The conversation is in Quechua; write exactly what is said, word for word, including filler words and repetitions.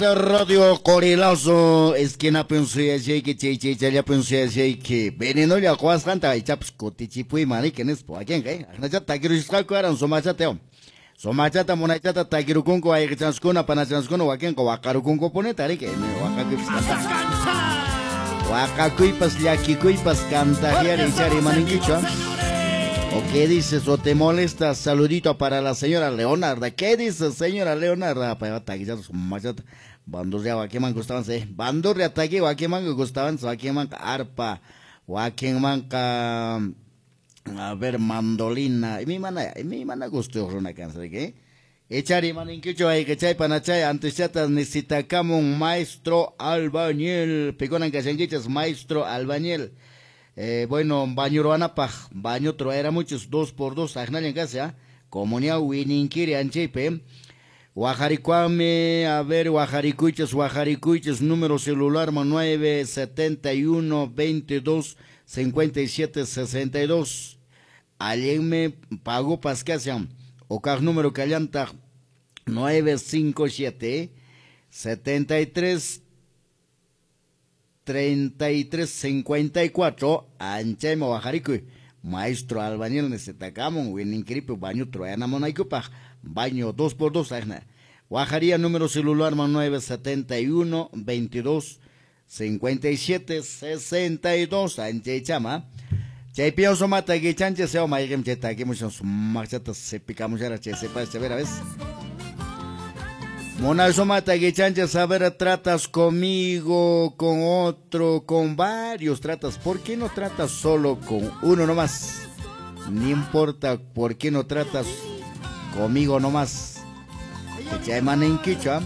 Radio Qorilazo esquinapin suyashayki chay chaychallapin suyashayki venenolla quwasqanta ichapas kutichipuyman riki nispa wakinqa aqnachata takirusqaku aran sumachata sumachata munaychata takirukunku wayqichanskuna panachanskuna wakinqa waqarukunkupunita riki waqakuypas waqakuypas llakikuypas kantajiari ichari imaninkichu. ¿O qué dices? ¿O te molestas? Saludito para la señora Leonarda. ¿Qué dices, señora Leonarda? Bandurria, wakiman gustaban, sí. Bandurria, taqui, wakiman gustaban, wakiman arpa, wakiman a ver, mandolina. Y mi mana, y mi mana gusto runa cansa, ¿qué? Echari maninquicho, hay que chay panachay, antes chata necesitamos un maestro albañil. Piconan cachanguichas, maestro albañil. Eh, bueno, baño ruanapaj, baño era muchos, dos por dos, ajnallan casi, ¿eh? Comunidad Wininkiri Anchipe, Guajarikuame, a ver, Guajarikuiches, Guajarikuiches, número celular nueve setenta y uno, veintidós, cincuenta y siete, sesenta y dos. Alguien me pagó pascasiam, o car número callanta nueve cinco siete, setenta y tres, treinta y tres cincuenta y cuatro, Anchayma Guajarikuy, maestro albañil necesitamos, Wininkiripi, baño troyana monaikupaj, baño dos por dos, ajna. Guajaría número celular nueve setenta y uno, veintidós, cincuenta y siete, sesenta y dos, Anchaychama. Chaypio somata guichanche seo maigem cheta aquí muchos machata se picamos ya che se pasa a ver a ver. Mona somata guichanche saber tratas conmigo, con otro, con varios tratas. ¿Por qué no tratas solo con uno nomás? No importa por qué no tratas conmigo nomás. Chay maninquicho.